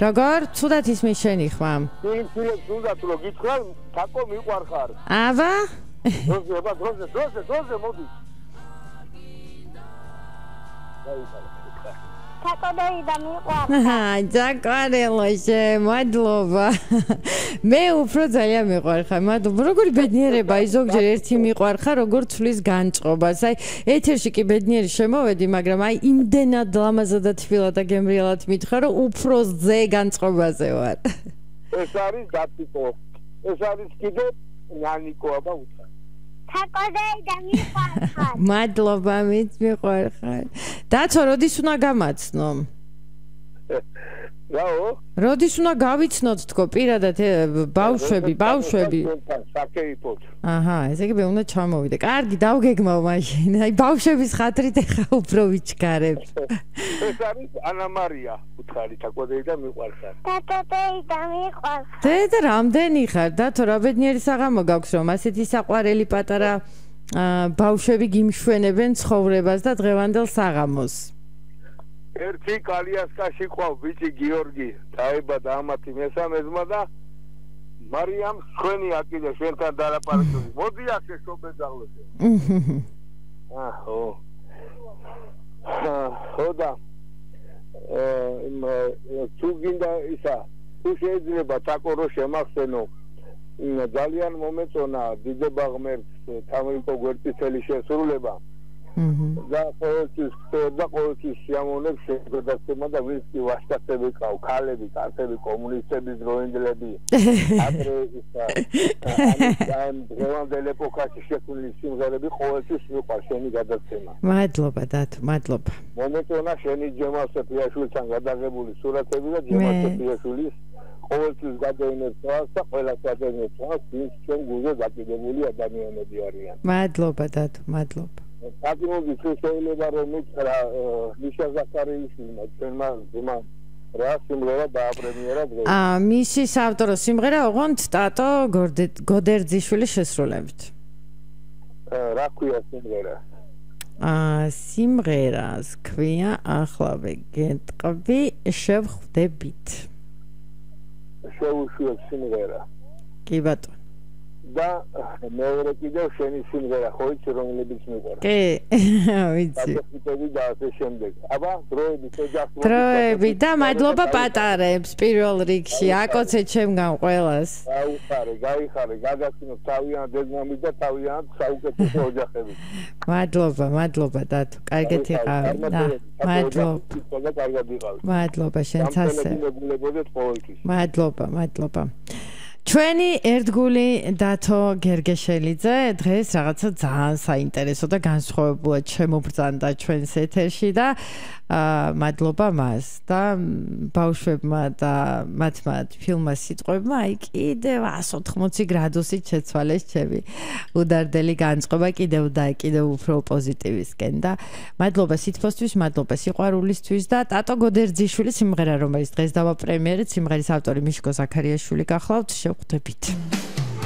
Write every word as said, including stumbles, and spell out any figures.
როგორ ცუდად ისმის შენი ხმა? ფილმს უნდა თუ გითხრა, თაკო მიყვარხარ. აბა? დროზე, აბა დროზე, დროზე, დროზე მოდი. თაკო და მიყვარხარ. ძაკარელოშე, მადლობა. მე უფრო ძალიან მიყვარხარ. მადლობა. როგორი ბედნიერება, აი ზოგჯერ ერთი მიყვარხარ, როგორ ცვლის განწყობას. აი ეთერში კი ბედნიერი შემოვედი, მაგრამ აი იმდენად ლამაზად და თბილად და გემრიელად მითხრა, რომ უფრო ზე განწყობაზე ვარ. ეს არის დათიკო. ეს არის კიდე ნანიკო, აბა უთხრა. თაკო და მიყვარხარ. მადლობა, მით მიყვარხარ. დაცო, როდის უნდა გამაცნო? რაო? როდის უნდა გავიცნოთ თქო, პირადად ბავშვები, ბავშვები. საკეითოთ. აჰა, ესე იგი მე უნდა ჩამოვიდე. კარგი, დავგეგმავ მაშინ. აი ბავშვების ხათრით ეხა უფრო ვიჩქარებ. ეს არის ანა მარია, უთხარი თაკო და მიყვარხარ. თაკო და მიყვარხარ. დედა რამდენი ხარ? დათო, რა ბედნიერი საღამო გაქვს, რომ ასეთი საყვარელი პატარა ბავშვები გიმშვენებენ ცხოვრებას და დღევანდელ საღამოს. ერთი კალიასკაში ყავ ბიჭი გიორგი, დაიბადა ამათი მესამე ძმა და მარიამ შვენი აკიდე შენთან დალაპარაკები. მოდი ასე შობედაღლოზე. აჰო. ხოდა. აა თუ გინდა ისა, თუ შეიძლება თაკო რო შემახსენო, ძალიან მომეწონა დიდება ღმერთს თამრიკო გვერდწითელი შესრულება. და ყოველთვის და ყოველთვის შემოვნებ შეგადაცემა და ვინც კი ვაშკაცები ყავ, ქალები, კაცები, კომუნისტები, დროინდლები. ადრე ისა ამ დღევანდელ ეპოქაში შექმნილი სიმღერები ყოველთვის მიყვარს შენი გადაცემა. მადლობა დათო, მადლობა. მომეწონა შენი ჯემალ სეფიაშვილთან გადაღებული სურათები და ჯემალ სეფიაშვილის ყოველთვის გადაინებს თავს და ყველას გადაინებს თავს, ვინც ჩვენ გულზე დაკიდებული ადამიანები არიან. მადლობა დათო, მადლობა. საკმაოდ შეიძლება რომ მითხრა მიშა ზაქარიაშვილმა ჩვენმა ძმა რა სიმღერა დააპრემიერა დღეს. აა მისი საავტორო სიმღერა ოღონდ ტატო გოდერძიშვილის შესრულებით. რა ქვია სიმღერა? აა სიმღერას ქვია ახლავე გეტყვი შევხვდებით. შევუშვებ სიმღერა. კი ბატონო. და მეორე კიდევ შენი სიმღერა ხო იცი რომლებიც მიყვარს. კი, ვიცი. დაწესებები და ასე შემდეგ. აბა, დროები შეჯახდები. დროები და მადლობა პატარებს პირველ რიგში. აკოცე ჩემგან ყველას. გაიხარე, გაიხარე, გადაცინოთ თავიანთ დედმამით და თავიანთ საუკეთესო ოჯახებით. მადლობა, მადლობა დათო. კარგად იყავი. მადლობა. მადლობა შენც ასე. მადლობა, მადლობა. ჩვენი ერთგული დათო გერგეშელიძე დღეს რაღაცა ძალიან საინტერესო და განსხვავებულად შემობრძანდა ჩვენს ეთერში და მადლობა მას და ბავშვებმა და მათმა ფილმმა სიტყვებმა აი კიდევ εκατს ოთხმოცი გრადუსით შეცვალეს ჩემი უდარდელი განწყობა კიდევ და კიდევ უფრო პოზიტივისკენ და მადლობა სითბოსთვის, მადლობა სიყვარულისთვის და ტატო გოდერძიშვილის სიმღერა რომელიც დღეს დავაპრემიერეთ, სიმღერის ავტორი მიშკო ზაქარიაშვილი გახლავთ, შევხვდებით.